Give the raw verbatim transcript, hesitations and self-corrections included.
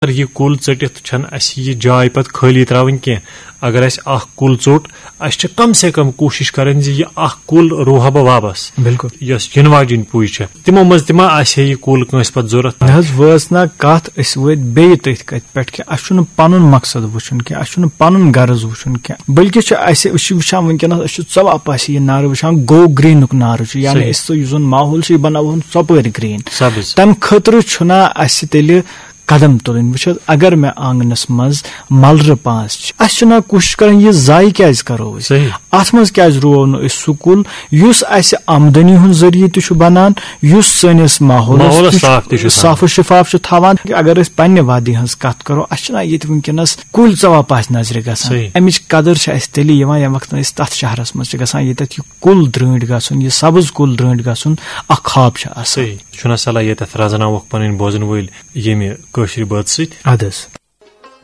اگر یہِ کُل ژٔٹِتھ چھَنہٕ اَسہِ یہِ جاے پَتہٕ خٲلی ترٛاوٕنۍ کینٛہہ۔ اگر اَسہِ اَکھ کُل ژوٚٹ، اَسہِ چھِ کم سے کم کوٗشِش کَرٕنۍ زِ یہِ اَکھ کُل رُوہا بہٕ واپَس، بِلکُل۔ یۄس یِنہٕ واجیٚنۍ پُے چھےٚ، تِمو منٛز تہِ ما آسہِ ہے یہِ کُل کٲنٛسہِ پَتہٕ ضوٚرَتھ؟ نہ حظ، وٲژ نا کَتھ، أسۍ وٲتۍ بیٚیہِ تٔتھۍ کَتھِ پٮ۪ٹھ کہِ اَسہِ چھُنہٕ پَنُن مقصد وٕچھُن کینٛہہ، اَسہِ چھُنہٕ پَنُن غرض وٕچھُن کینٛہہ، بلکہِ چھِ اَسہِ، أسۍ چھِ وٕچھان وٕنکیٚنَس، أسۍ چھِ ژۄپٲرۍ یہِ نعرٕ وٕچھان، گو گرٛیٖنُک نعرٕ چھُ، یعنی صحیح۔ أسۍ تہٕ یُس زَن ماحول چھُ، یہِ بَناوہون ژۄپٲرۍ گرٛیٖن۔ سبز۔ تَمہِ خٲطرٕ چھُنہ اَسہِ تیٚلہِ قدم تُلٕنۍ؟ وٕچھ حظ، اگر مےٚ آنٛگنَس منٛز مَلرٕ پانٛژھ چھِ، اَسہِ چھُنہ کوٗشِش کَرٕنۍ یہِ ضایع کیٛازِ کَرو أسۍ؟ صحیح۔ اَتھ منٛز کیٛازِ رُوو نہٕ أسۍ سُہ کُل یُس اَسہِ آمدنی ہُنٛد ذٔریعہٕ تہِ چھُ بَنان، یُس سٲنِس ماحولَس ماحولَس تہِ چھُ صاف تہِ چھُ تھاوان۔ صاف و شِفاف چھُ تھاوان؟ اگر أسۍ پنٛنہِ وادی ہٕنٛز کَتھ کَرو، اَسہِ چھُنہ ییٚتہِ وٕنکیٚنَس کُلۍ ژَپٲرۍ نظرِ گژھان۔ صحیح۔ اَمِچ قدٕر چھِ اَسہِ تیٚلہِ یِوان، ییٚمہِ وقتہٕ أسۍ تَتھ شہرَس منٛز چھِ گژھان، ییٚتٮ۪تھ یہِ کُل درٛٲنٛٹھۍ گژھُن، یہِ سبٕز کُل درٛٲنٛٹھۍ گژھُن اَکھ خواب چھُ آسان۔ صحیح۔ چھُنہ صلاح ییٚتٮ۪تھ رَزناووکھ پَنٕنۍ بوزَن وٲلۍ ییٚمہِ کٲشرِ بٲتھ سۭتۍ؟ اَدٕ حظ۔